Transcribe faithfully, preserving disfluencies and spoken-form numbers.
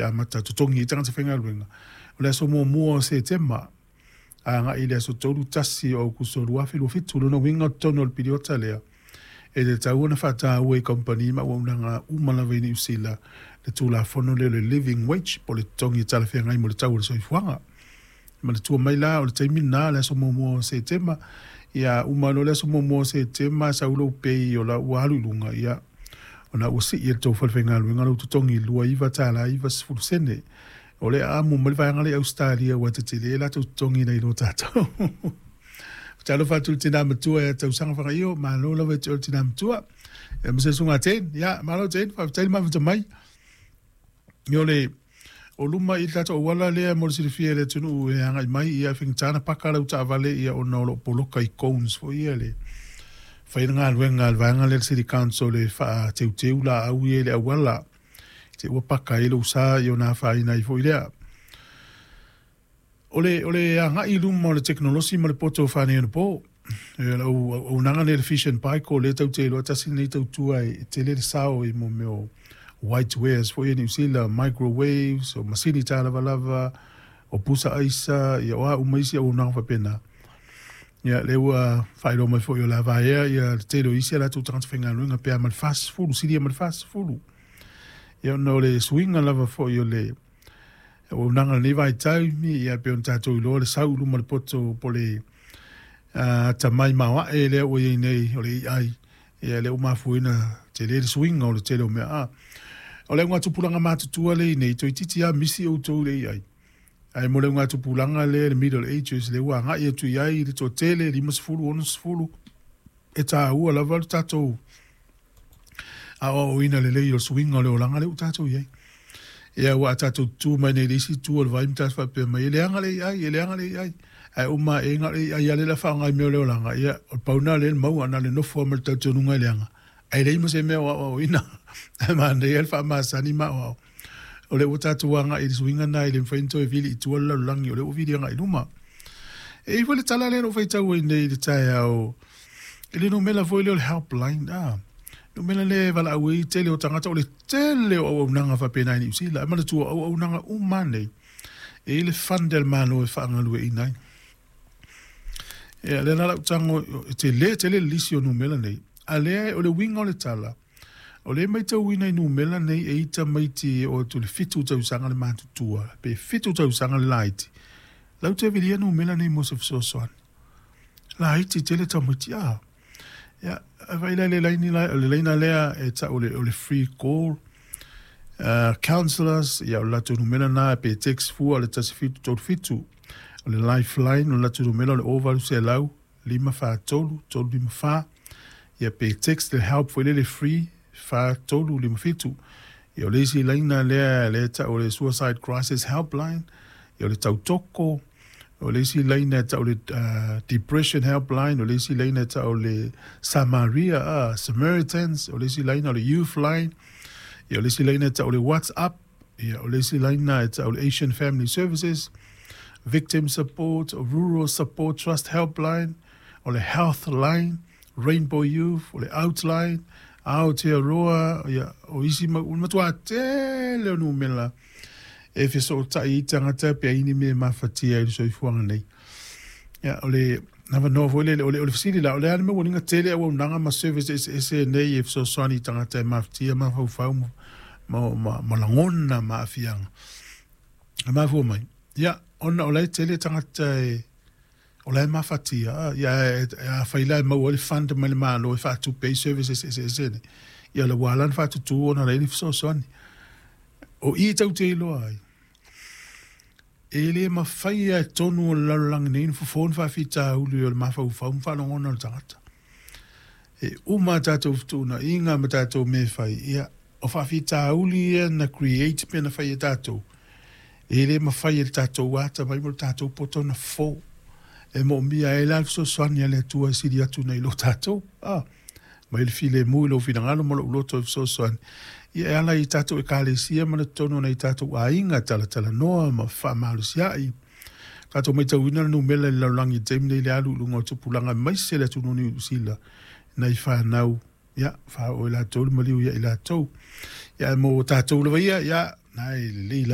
amata totogi ai tagata faigaluega o le aso muamua o Setema agai i le aso tolu tasi o Aukuso lua afe lua fitu. Lona uiga o totonu o le piliota lea e tatau ona faataua i kamupani ma auaunaga uma lava i Niu Sila le tulafono lea o le living wage po o le totogi e talafeagai mo le tau o le soifuaga. Manatua mai la o le taimi lena le aso muamua o Setema. Ia uma loa le aso muamua o Setema sau lou pei o la ua alu i luga, ia ona ua sii e le tou falefaigaluega lou totogi i lua iva tala iva sefulu sene. O le amo mai le vaega lea i Ausetalia ua tetele latou totogi nai lo tatou. Talofa atu i le tina matua ia Tausaga Fagaio, malo lava i te oe le tina matua. E ma se susuga Jane, ia malo Jane, faafetai le mafuta mai. O le o luma i le tatou auala lea mo le silafia e le atunuu e agai mai, ia e faigata ona paka lau taavale ia ona o lo o poloka i cones foi ia le fai le galuega a le vaega lea le City Council e faateuteu laau ia i le auala te ua paka ai lou sa ia ona afaina ai foi lea. O le, o le agai i luma o le tekonolosi ma le poto faaneionapo. E lau auaunaga lea le Fish and Pike o lea tatou te iloa tasi lenei tautua e tele le sao i mo mea o white wares foi i Niu Sila, microwaves, o masini talavalava, o pusa aisa, ia o a uma isi auaunaga faapena. Ia lea ua faailoa mai foi o le a vaea ia le tele o isi a latou tagata faigaluega pe a ma le fasefulu, silia ma le fasefulu. Ia ona o le suiga lava foi o le auaunaga i lenei vaitaimi, ia pei ona tatou iloa le sau i luma o le poto po o le atamai maoae lea ua i ai nei o le A I, ia lea ua mafua ai ona tele le suiga o le tele o mea. A o le augatupulaga matutua lea i nei, toeitiiti lava misi outou i le A I. Ae mo le augatupulaga lea le middle ages lea ua agai atu i ai le toatele, limasefulu, onosefulu, e taua lava le tatou aoaoina lelei o le suiga o le olaga lea ua tatou i ai. Ia ua a tatou tutu mai nei i le isi itu o le vai ma tatou faapea mai, e leaga le A I, e leaga le A I. Ae uma ae na o le A I lava lea o le a faaaoga i mea o le olaga, ia o le pau lena o lea e maua na o le nofo lava ma le talitonuga e leaga, ae leai ma se mea o aoaoina. Ae manaia le faamasani ma aoao. O lea ua tatou agai i le suiga lena e le mafai ona toe vili i tua le lalolagi, o lea ua vili agai i luma. E i ai foi le tala lea na ou faitau ai nei i le taeao i le numera foi lea o le helpline, a numera lea e valaau ai tele o tagata, o le tele o auaunaga faapena i Niu Sila. Ae manatua o auaunaga uma lava nei e i ai le fund a le Malo e faagalueaiina ai. Ia lea la lau tago e tele tele le lisi o numera nei, a lea o le uiga o le tala, o lea e matauina i numera nei e i tamaiti e oo atu i le fitu tausaga le matutua pe fitu tausaga le laiti, lau te vilia numera nei mo se fesoasoani. Laiti tele tamaiti a. Ia, vaai la i le laini la, o le laina lea e tau o le, o le free call uh, counselors, ia o le latou numera na pe text fua o le tasi fitu tolu fitu. O le lifeline o le latou numera o le o valu selau lima fa tolu tolu lima fa. Ia pe text le help foi lele free fa tolu lima fitu. Ia o le isi laina lea lea e tau o le suicide crisis helpline, ia o le tautoko, o le isi laina e tau o le uh, depression helpline, o le isi laina e tau o le Samaria, uh, Samaritans, o le isi laina o le youth line, ia o le isi laina e tau o le WhatsApp, ia o le isi laina e tau o le Asian Family Services, Victim Support, Rural Support Trust Helpline, o le Health Line, Rainbow Youth, o le Outline, Aotearoa, ia o isi ma, o le matua tele o numera e fesootai ai tagata pe ai ni mea e mafatia i le soifuaga nei. Ia, o le avanoa foi lele, o le, o le fesili la, o le a le mea ua liga tele auaunaga ma service eseese nei e fesoasoani i tagata e mafatia, mafaufau ma, ma, ma, ma lagona ma aafiaga. E mafua mai, ia, ona o la e tele tagata e, o la e mafatia, ia, e, e, afai la e maua ai le fund mai le Malo e faatupe ai services eseese nei, ia o le ua ala ona faatutū ona o la e i ai le fesoasoani. O i tatou te iloa ai, e le mafai lava i totonu o le lalolagi nei ona fofo ni faafitauli o le mafaufau ma faalogona o le tagata. E uma a tatou fetuunaiga ma tatou mea e fai, ia, o faafitauli ia na create pe na fai e tatou, e le mafai e le tatou atamai ma le tatou poto ona fofo. E moomia ai la le fesoasoani a le Atua e sili atu nai lo tatou. Ah, mai le filemu i lou finagalo ma lou loto e fesoasoani. Ia e ala i tatou ekalesia ma le totonu o nai tatou aiga, talatalanoa ma faamalosiai. Tatou matauina le numera i le lalolagi i le taimi nei i le alu i luga o tupulaga aemaise le atunuu o Niu Sila nai fanau, ia, faaoo e latou le maliu ia i latou. Ia, ae mo tatou lava ia, ia, na e lelei lava.